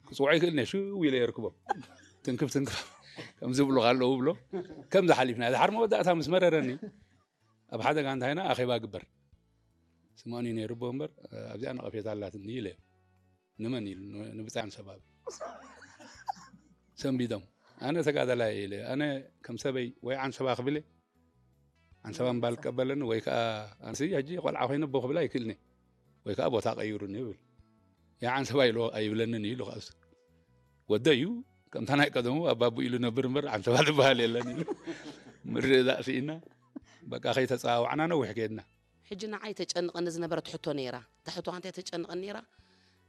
ክፅውዖ ይክእል ነ ሽው ኢለ የርክቦ። ትንክፍ ትንክፍ ከም ዝብሉ ካለዉ ብሎ። ከምዚ ሓሊፍና ድሓር መወዳእታ ምስ መረረኒ ኣብ ሓደ ጋንታ ኢና ኣኼባ ግበር። ስምኦን እዩ ነይሩ እቦ እምበር ኣብዚኣ ነቐፌታ ኣላትኒ ኢለ። ንመን ኢሉ? ንብፃይ ዓንሰባ። ሰንቢዶም። ኣነ ተጋዳላይ ኢለ ኣነ ከም ሰበይ ወይ ዓንሰባ ክብለ፣ ዓንሰባ ምባል ክቀበለኒ ወይ ከዓ ኣንስ ሕጂ ቆልዓ ኮይነ ኣቦ ክብላ ይክእልኒ ወይ ከዓ ቦታ ቀይሩኒ ይብል። ያ ዓንሰባ ኢሉ ኣይብለንን ኢሉ ከኣሱ ወደ እዩ። ከምታ ናይ ቀደሙ ኣባቡ ኢሉ ነብር እምበር ዓንሰባ ዝበሃል የለን ኢሉ ምርዳእ ስኢና። በቃ ከይተፀዋወዕና ነዊሕ ከድና። ሕጂ ንዓይ ተጨንቐኒ ዝነበረት ሕቶ ነይራ። እታ ሕቶ እንታይ ተጨንቐኒ ነይራ?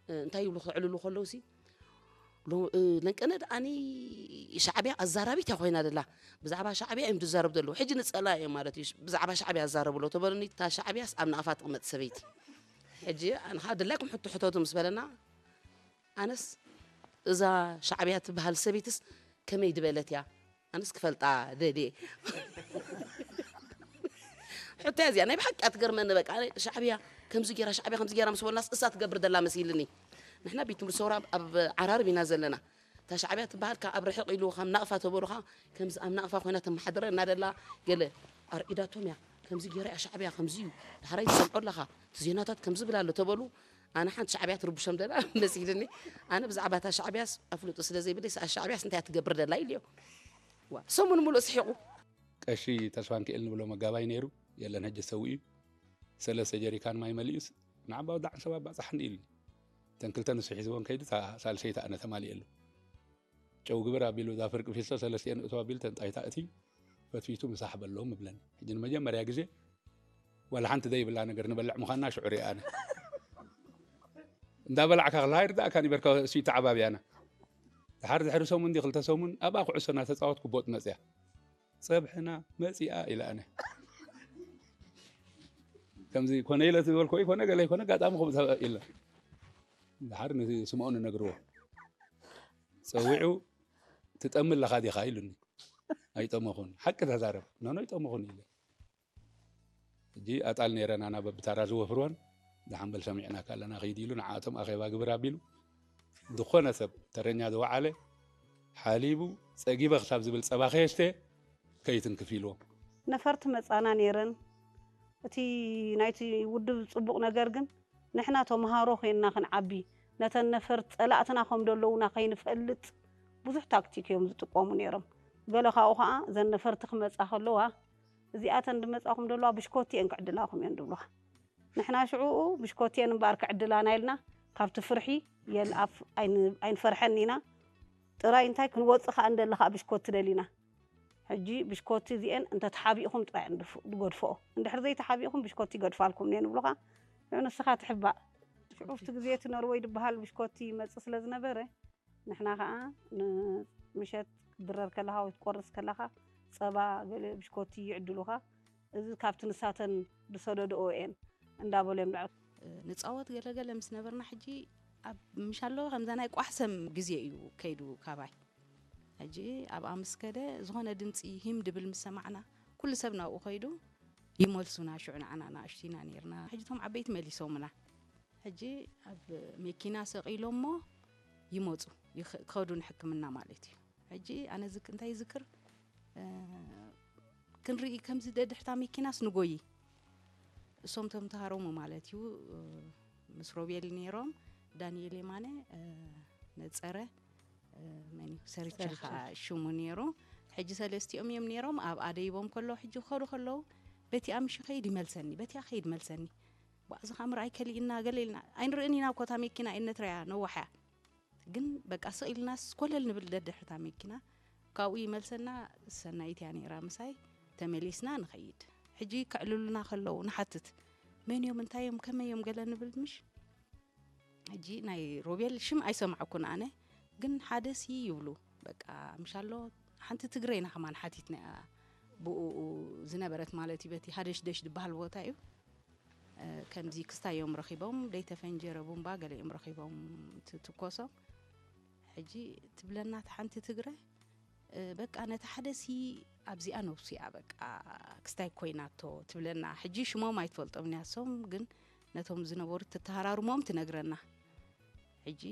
እ፣ እንታይ ይብሉ ክዕልሉ ከለውሲ፣ ሎ-፣ እ፣ ለንቀነ ደኣኒ ሻዕብያ ኣዛራቢት እያ ኮይና ደላ። ብዛዕባ ሻዕብያ እዮም ዝዛረቡ ዘለዉ። ሕጂ ንጸላ እዮም ማለት እዩ። ብዛዕባ ሻዕብያ ኣዛረቡ ኣለዉ ተበሉኒ፣ እታ ሻዕብያስ ኣብ ናቕፋ ትቕመጥ ሰበይቲ። ሕጂ ኣንኻ ድላይኩም ሕቶ ሕተቱ ምስ በለና፣ ኣነስ እዛ ሻዕብያ ትበሃል ሰበይትስ ከመይ ዝበለት እያ? ኣነስ ክፈልጣ ደልየ። ሕቶ እያ እዚኣ፣ ናይ ብሓቂ እያ ትገርመኒ። በቃ፣ ኣነ ሻዕብያ ከምዚ ጌራ፣ ሻዕብያ ከምዚ ጌራ ምስ በሉናስ እሳ ትገብር ደላ መሲልኒ። ንሕና ቤት ትምህርቲ ሰውራ ኣብ ዓራርብ ኢና ዘለና። እታ ሻዕብያ ትበሃል ካብ ኣብ ርሕቕ ኢሉ፣ ካብ ናቕፋ ተበሉኻ፣ ከምዚ ኣብ ናቕፋ ኮይና ተመሓድረና ደላ፣ ገለ ኣርዒዳቶም እያ። ከምዚ ጌራ እያ ሻዕብያ፣ ከምዚ እዩ። ዳሕራይ ትሰምዖ ኣለኻ፣ እቲ ዜናታት ከምዚ ብላ ኣሎ ተበሉ። ኣነ ሓንቲ ሻዕብያ ትርብሾም ደላ መሲልኒ። ኣነ ብዛዕባ እታ ሻዕብያስ ኣፍልጦ ስለ ዘይብለይ፣ ሰኣ ሻዕብያስ እንታይ እያ ትገብር ደላ ኢልዮ። ዋ፣ ሰሙን ሙሉእ ስሒቑ። ቀሺ ተስፋንክኤል ንብሎ መጋባይ ነይሩ፣ የለን፣ ሕጂ ሰው እዩ። ሰለስተ ጀሪካን ማይ መሊኡስ፣ ንዓባ ወዲ ዓንሰባ ኣባጻሕኒ ኢሉኒ። እተን ክልተ ንሱ ሒዝወን ከይዱ፣ እታ ሳልሰይቲ ኣነ ተማሊኤሉ። ጨው ግብር ኣቢሉ፣ እዛ ፍርቂ ፊስቶ ሰለስቲኤን እቶ ኣቢሉ፣ ተንጣይታ እቲ ፈትፊቱ ምሳሕ በሎም እብለኒ። ሕጂ ንመጀመርያ ግዜ፣ ዋላ ሓንቲ ዘይብላ ነገር ንበልዕ ምዃንና ሽዑ ሪኣ ኣነ። እንዳበላዕካ ከለኻ ይርዳእካ ኒበርካ፣ እሱ ተዓባብያና። ድሓር ድሕሪ ሰሙን ድዩ ክልተ ሰሙን፣ ኣብኣ ኩዕሶ እናተጻወትኩ ቦጥ መጽያ። ጸብሕና መጺኣ ኢለ ኣነ። ከምዚ ኮነ ኢለ ዝበልኮ ይኮነ፣ ገለ ይኮነ፣ ኣጋጣሚ ከምኡ ኢለ። ድሓር ንስምኦን እነግርዎ። ጸዊዑ፣ "ትጠሚ ኣለኻ ዲኻ?" ኢሉኒ። "ኣይጠመኹን። ሓቂ ተዛረብ." "ኖኖ፣ ኣይጠመኹን" ኢለ። ሕጂ ኣጣል ነይረን ኣና በብታራ ዝወፍርወን፣ "ደሓን በል ሰሚዕናካ ኣለና፣ ኺድ" ኢሉ ንዓኣቶም ኣኼባ ግብር ኣቢሉ፣ ዝኾነ ሰብ ተረኛ ዝወዓለ ሓሊቡ ጸጊበ ክሳብ ዝብል ጸባ ከየስተ ከይትንክፍ ኢልዎም። ነፈርቲ መጻና ነይረን። እቲ ናይቲ ውድብ ጽቡቕ ነገር ግን ንሕና ተምሃሮ ኮይንና ክንዓቢ፣ ነተን ነፈርቲ ጸላእትና ከም ዘለዉና ከይንፈልጥ ብዙሕ ታክቲክ እዮም ዝጥቀሙ ነይሮም። ገለ ካብኡ ኸዓ እዘን ነፈርቲ ክመጻ ከለዋ፣ "እዚኣተን ዝመጻኹም ዘለዋ ብሽኮቲ እየን ክዕድላኹም እየን" ዝብሉኻ። ንሕና ሽዑኡ ብሽኮቲ እየን እምበኣር ክዕድላና ኢልና ካብቲ ፍርሒ የልኣፍ ኣይን-፣ ኣይንፈርሐን ኢና። ጥራይ እንታይ ክንወጽእ ከኣ እንደለ ከኣ ብሽኮቲ ደሊና። ሕጂ ብሽኮቲ እዚኤን እንተተሓቢእኹም ጥራይ እየን ዝፍ-፣ ዝገድፍኦ። እንድሕር ዘይተሓቢእኹም ብሽኮቲ ይገድፋልኩም እየን ይብሉኻ። ሽዑ ንስኻ ትሕባእ። ሽዑ ኣብቲ ግዜ እቲ ኖርወይ ዝበሃል ብሽኮቲ ይመጽእ ስለ ዝነበረ፣ ንሕና ኸዓ ን-፣ ምሸት ክትድረር ከለኻ ወይ ክትቆርስ ከለኻ፣ ጸባ ገለ ብሽኮቲ ይዕድሉኻ። እዚ ካብቲ ንሳተን ዝሰደድኦ እየን እንዳበሉ እዮም ዝዕርፉ። ንጻወት ገለገለ ምስ ነበርና፣ ሕጂ ኣብ ምሻሎ ከምዛ ናይ ቋሕሰም ግዜ እዩ ከይዱ ካባይ። ሕጂ ኣብኣ ምስ ከደ፣ ዝኾነ ድምጺ ሂም ድብል ምስ ሰማዕና፣ ኩሉ ሰብ ናብኡ ከይዱ ይመልሱና። ሽዑ ንዓና ንኣሽቱ ኢና ነይርና። ሕጂ እቶም ዓበይቲ መሊሶምና። ሕጂ ኣብ መኪና ሰቒሎሞ ይመጹ፣ ይኸ-፣ ክኸዱ ንሕክምና ማለት እዩ። ሕጂ ኣነ ዝክ-፣ እንታይ ይዝክር፣ እ፣ ክንርኢ ከምዚ ደድሕታ መኪናስ ንጎዪ። እሶም ተምሃሮሙ ማለት እዩ፣ እ፣ ምስ ሮቤል ነይሮም፣ ዳንኤል የማነ፣ እ፣ ነጸረ፣ እ፣ መን እዩ? ሰርቸ ሰርቸ። ኸዓ ሽሙ ነይሩ። ሕጂ ሰለስቲኦም እዮም ነይሮም፣ ኣብኣ ደይቦም ከለዉ፣ ሕጂ ክኸዱ ከለዉ፣ በቲኣ ምሽ ኸይድ ይመልሰኒ፣ በቲኣ ኸይድ ይመልሰኒ። ባእ፣ እዚ ኸዓ ምርኣይ ከሊእና፣ ገለ ኢልና፣ ኣይንርእን ኢና እኮ፣ እታ መኪና እየ ነትረያ፣ ነዋሕ እያ። ግን በቃ ስቕ ኢልናስ ኮለል ንብል ደድሕርታ መኪና። ካብኡ ይመልሰና፣ ሰናይት እያ ነይራ ምሳይ። ተመሊስና ንኸይድ። ሕጂ ከዕልሉና ከለዉ ንሓትት። መን እዮም፣ እንታይ እዮም፣ ከመይ እዮም ገለ ንብል ምሽ? ሕጂ ናይ ሮቤል ሽም ኣይሰማዕኩን ኣነ። ግን ሓደ ሲ ይብሉ። በቃ ምሻሎ ሓንቲ ትግረ ኢና ከማን ሓቲትናያ። ብኡ ዝነበረት ማለት እዩ፣ በቲ ሃደሽደሽ ዝበሃል ቦታ እዩ። እ፣ ከምዚ ክስታይ እዮም ረኺቦም፣ ደይተፈንጀረ ቡምባ ገለ እዮም ረኺቦም ት-፣ ትኮሶም። ሕጂ ትብለና እታ ሓንቲ ትግረ፣ እ፣ በቃ ነቲ ሓደሲ ኣብዚኣ ነብሱ እያ በቃ ክስታይ ኮይናቶ ትብለና። ሕጂ ሽሞም ኣይትፈልጦም ንያሶም፣ ግን ነቶም ዝነበሩ ትተሃራርሞም ትነግረና። ሕጂ